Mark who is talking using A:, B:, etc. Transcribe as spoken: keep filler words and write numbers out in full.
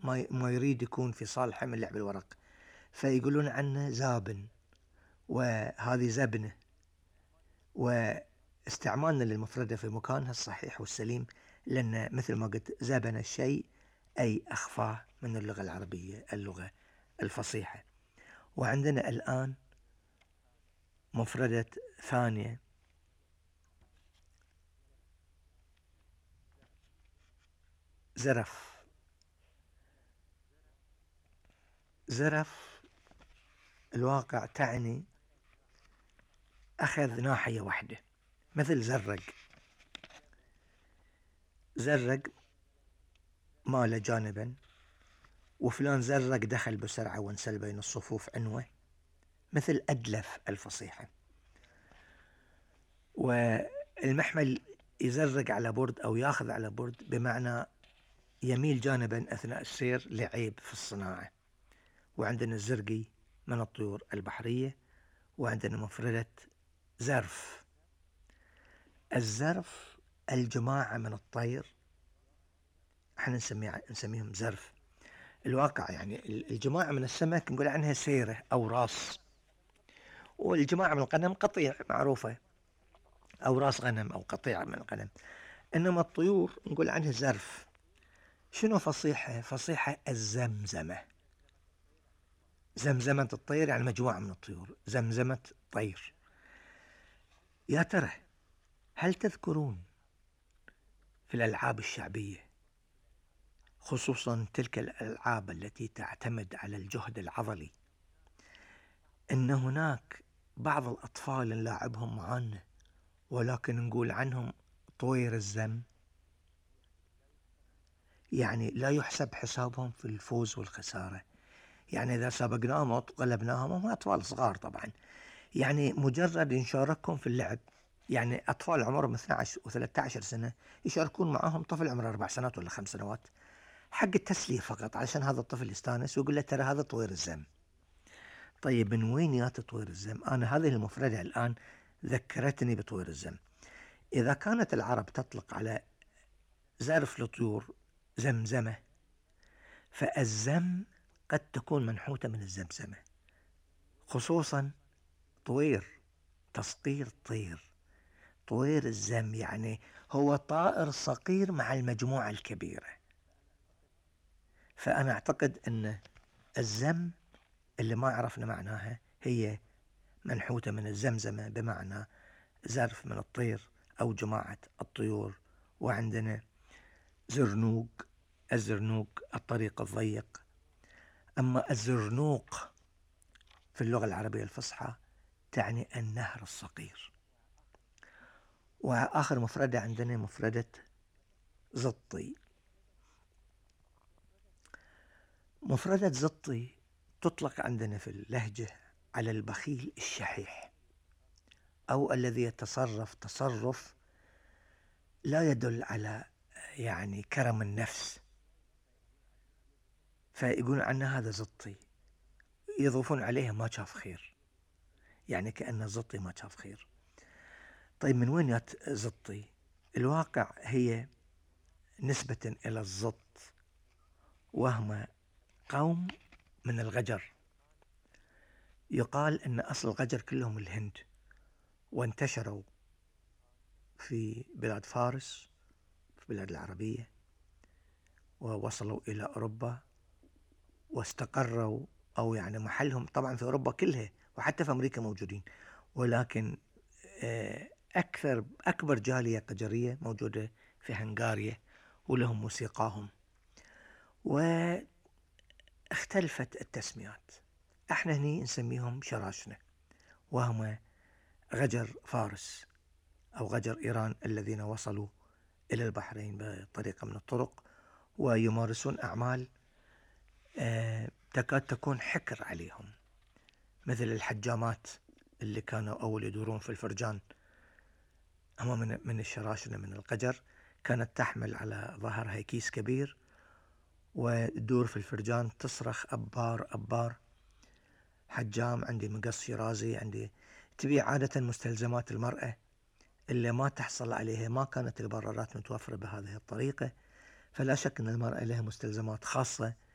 A: ما ما يريد يكون في صالحه من لعب الورق، فيقولون عنه زابن، وهذه زبنة. واستعمالنا للمفردة في مكانها الصحيح والسليم، لأن مثل ما قلت زبن الشيء أي أخفاه من اللغة العربية، اللغة الفصيحة. وعندنا الآن مفردة ثانية، زرف. زرف الواقع تعني أخذ ناحية واحدة، مثل زرق. زرق مال جانبا، وفلان زرق دخل بسرعة وانسل بين الصفوف عنوة، مثل أدلف الفصيحة. والمحمل يزرق على برد أو ياخذ على برد بمعنى يميل جانبا أثناء السير لعيب في الصناعة. وعندنا الزرقي من الطيور البحرية. وعندنا مفردة زرف. الزرف الجماعة من الطير، احنا نسميه نسميهم زرف. الواقع يعني الجماعة من السمك نقول عنها سيرة أو راس، والجماعة من الغنم قطيع معروفة، أو راس غنم أو قطيع من الغنم. إنما الطيور نقول عنها زرف. شنو فصيحة؟ فصيحة الزمزمة. زمزمة الطير يعني مجموعة من الطيور، زمزمة طير. يا ترى هل تذكرون في الألعاب الشعبية، خصوصا تلك الألعاب التي تعتمد على الجهد العضلي، إن هناك بعض الأطفال نلاعبهم معانا ولكن نقول عنهم طوير الزم؟ يعني لا يحسب حسابهم في الفوز والخسارة. يعني إذا سبقناهم وغلبناهم، هم أطفال صغار طبعا، يعني مجرد نشاركهم في اللعب. يعني أطفال عمرهم اثني عشر وثلاثة عشر سنة يشاركون معهم طفل عمره أربع سنوات ولا خمس سنوات، حق التسلية فقط، علشان هذا الطفل يستانس ويقول له ترى هذا طوير الزم. طيب من وين يات طوير الزم؟ أنا هذه المفردة الآن ذكرتني بطوير الزم. إذا كانت العرب تطلق على زرف الطيور زمزمة، فالزم قد تكون منحوتة من الزمزمة، خصوصا طوير، تصقير طير. طوير الزم يعني هو طائر صغير مع المجموعة الكبيرة. فأنا أعتقد أن الزم اللي ما عرفنا معناها هي منحوتة من الزمزمة، بمعنى زرف من الطير أو جماعة الطيور. وعندنا زرنوق. الزرنوق الطريق الضيق. أما الزرنوق في اللغة العربية الفصحى تعني النهر الصغير. وآخر مفردة عندنا مفردة زطي. مفردة زطي تطلق عندنا في اللهجة على البخيل الشحيح، أو الذي يتصرف تصرف لا يدل على يعني كرم النفس، فيقولون عنه هذا زطي، يضيفون عليه ما شاف خير، يعني كأنه زطي ما شاف خير. طيب من وين يات زطي؟ الواقع هي نسبة إلى الزط، وهم قوم من الغجر. يقال أن أصل الغجر كلهم الهند، وانتشروا في بلاد فارس، في بلاد العربية، ووصلوا إلى أوروبا واستقروا، أو يعني محلهم طبعا في أوروبا كلها، وحتى في أمريكا موجودين. ولكن أكثر أكبر جالية قجرية موجودة في هنغاريا، ولهم موسيقاهم. واختلفت التسميات. احنا هني نسميهم شراشنة، وهم غجر فارس أو غجر إيران الذين وصلوا إلى البحرين بطريقة من الطرق، ويمارسون أعمال تكاد تكون حكر عليهم، مثل الحجامات اللي كانوا أول يدورون في الفرجان. هم من من الشراشنة من القجر، كانت تحمل على ظهرها كيس كبير وتدور في الفرجان تصرخ أبار أبار، حجام عندي مقص شيرازي عندي. تبيع عادة مستلزمات المرأة اللي ما تحصل عليها، ما كانت البرارات متوفرة بهذه الطريقة، فلا شك أن المرأة لها مستلزمات خاصة